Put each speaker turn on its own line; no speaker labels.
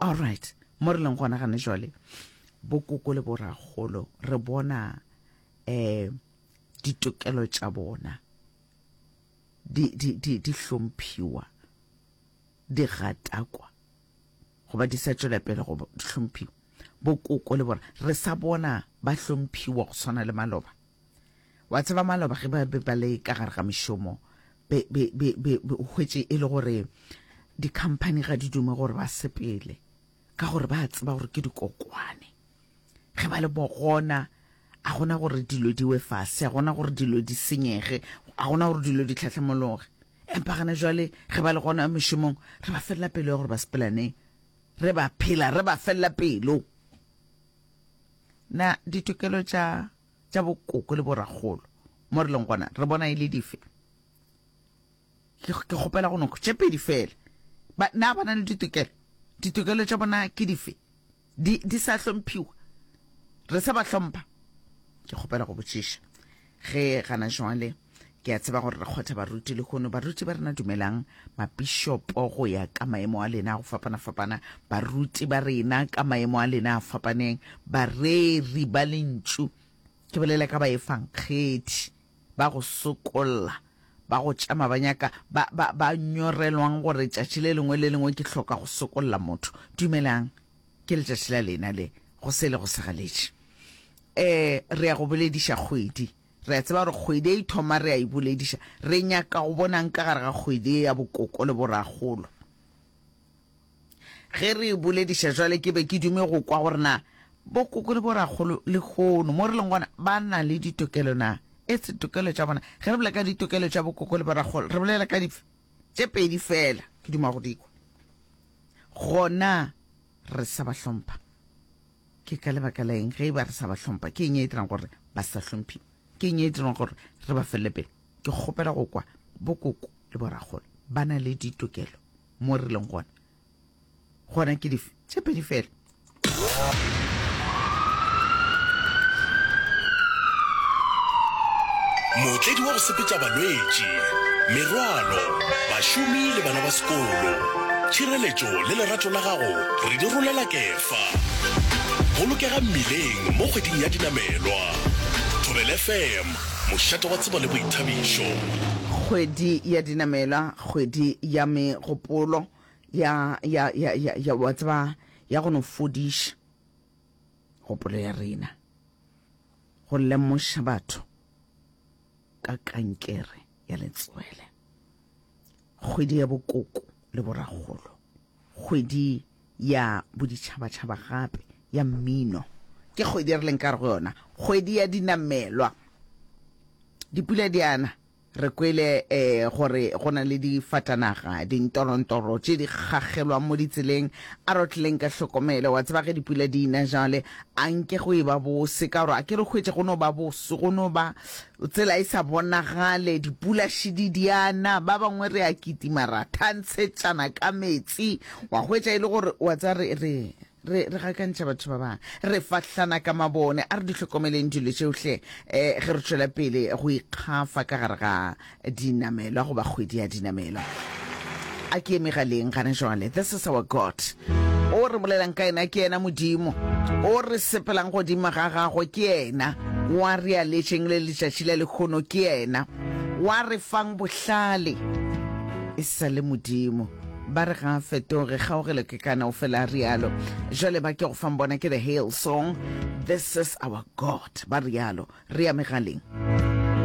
Alright, mo re leng gona gane jwale, bokoko le borakgolo re bona um ditokelo tša bona di, di, di, di hlomphiwa, di gatakwa, goba di sa tšwela pele go di hlomphiwa. Bokoko le bona re sa bona ba hlomphiwa go swana le maloba. Wa tseba maloba ge ba be ba le ka gare ga mešomo, be, be, be, be, be o hwetše e le gore di-company ga di dume gore ba sepele, ka gore ba tseba gore ke dikokwane. Ge ba le bogona, a gona gore dilo di we fase, a gona gore dilo di senyege, a gona gore dilo di tlhahlamologe. Empa gana jwale ge ba le gona mešomong, re ba felela pelo ya gore ba sepela neng. Re ba phela re ba felela pelo. Na ditokelo tša tša bokoko le borakgolo mo re leng gona re bona e le dife? Ke, ke kgopela go no tše pedi fela. Ba, na ba na le ditokelo? Ditokelo tša bona ke dife? Di, di sa hlomphiwa? Re sa ba hlompha? Ke kgopela go botšiša. Ge gana jwale ke a tseba gore re kgotha baruti lehono. Baruti ba rena dumelang, mapišopo go ya ka maemo a lena a go fapana-fapana, baruti ba rena ka maemo a lena a fapaneng, bareri ba lentšu, ke bolela ka baefankgedi ba go sokolla, ba go tšama ba nyaka, ba, ba, ba nyorelwang gore tšatši le lengwe le lengwe ke hloka go sokolla motho. Dumelang, ke letšatši la lena le, go sele go segaletše. Eh, re ya go bolediša kgwedi. Re a tseba gore kgwedi e thoma re a e bolediša. Re nyaka go bonang ka gare ga kgwedi ye ya bokoko le borakgolo. Ge re e bolediša jwale ke be ke dume go kwa gore na bokoko le borakgolo lehono mo re leng gona ba na le ditokelo na. Etse tokelo tša bona. Ge re bolela ka ditokelo tša bokoko le borakgolo re bolela ka dife? Tše pedi fela ke duma go di kwa. Gona re sa ba hlompha. Ke ka lebaka la eng ge e ba re sa ba hlompha? Ke eng e dirang gore ba sa hlomphiwe? Ke eng e dirang gore re ba felele pelo? Ke kgopela go kwa bokoko le borakgolo ba na le ditokelo mo re leng gona. Gona ke dife? Tše pedi fela.
Mootledi wa go sepetša balwetši, merwalo, bašomi le bana ba sekolo. Tšhireletšo le lerato la gago re di rolela kefa. Bolokega mmileng mo kgweding ya dinamelwa. Thobela FM, mošate wa tsebo le boithabišo.
Kgwedi ya dinamelwa, kgwedi ya megopolo ya, ya, ya, ya, ya, wa tseba, ya go no fodiša kgopolo ya rena. Go lemoša batho ka kankere ya letswele. Kgwedi ya bokoko le borakgolo. Kgwedi ya boditšhabatšhaba gape ya mmino. Ke kgwedi e re leng ka gare go yona, kgwedi ya dinamelwa. Dipula di a na. Re kwele eh, gore go na le difatanaga, dintorontoro tše di gagelwang mo ditseleng. A re otleleng ka hlokomelo. Wa tseba ge dipula di ina jwale, a nke go e ba bose, ka gore a ke re hwetše go no ba bose, go no ba tsela e sa bonagale, dipula šidi di a na, ba bangwe re a kitima ra thantshetšana ka metsi, wa hwetša e le gore wa tseba re, re, Re, re gakantšha batho ba bangwe. Re fahlana ka mabone. A re di hlokomeleng dilo tšeo hle, eh, ge re tšwela pele go ikgafa ka gare ga dinamelwa goba kgwedi ya dinamelwa. A ke ye megaleng gana jwale. This is our God. O re bolelang ka yena ke yena Modimo. O re sepelang godimo ga gagwe ke yena. Wa re aletšeng le letšatši la lehono ke yena. Wa re fang bohlale e sa le Modimo. Ba re ga a fetoge, kgaogelo ke kana, o fela a rialo. Jwale ba ke go fang bona ke the Hail Song, This is our God, ba rialo. Re ya megaleng.